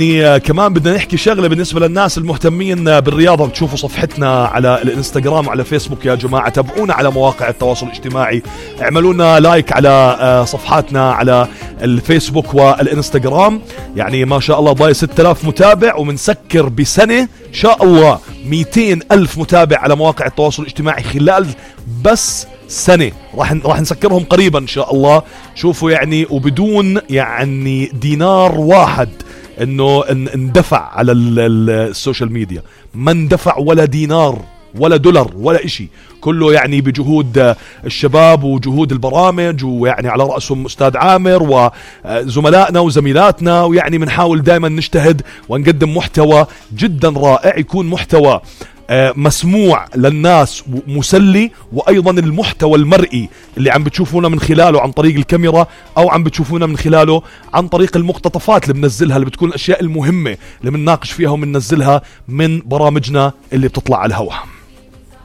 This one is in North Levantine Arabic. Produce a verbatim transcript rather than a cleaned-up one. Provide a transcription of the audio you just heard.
يعني كمان بدنا نحكي شغلة بالنسبة للناس المهتمين بالرياضة. بتشوفوا صفحتنا على الانستغرام وعلى فيسبوك يا جماعة، تابعونا على مواقع التواصل الاجتماعي، اعملوا لنا لايك على صفحاتنا على الفيسبوك والانستغرام. يعني ما شاء الله ضاي ستة آلاف متابع، ومنسكر بسنة إن شاء الله مئتين ألف متابع على مواقع التواصل الاجتماعي خلال بس سنة. راح راح نسكرهم قريبا إن شاء الله. شوفوا يعني، وبدون يعني دينار واحد انه اندفع على السوشيال ميديا، ما اندفع ولا دينار ولا دولار ولا اشي، كله يعني بجهود الشباب وجهود البرامج، ويعني على رأسهم أستاذ عامر وزملائنا وزميلاتنا. ويعني بنحاول دائما نجتهد ونقدم محتوى جدا رائع، يكون محتوى مسموع للناس ومسلي، وأيضا المحتوى المرئي اللي عم بتشوفونا من خلاله عن طريق الكاميرا أو عم بتشوفونا من خلاله عن طريق المقتطفات اللي بنزلها، اللي بتكون الأشياء المهمة اللي بنناقش فيها وبننزلها من برامجنا اللي بتطلع على الهواء.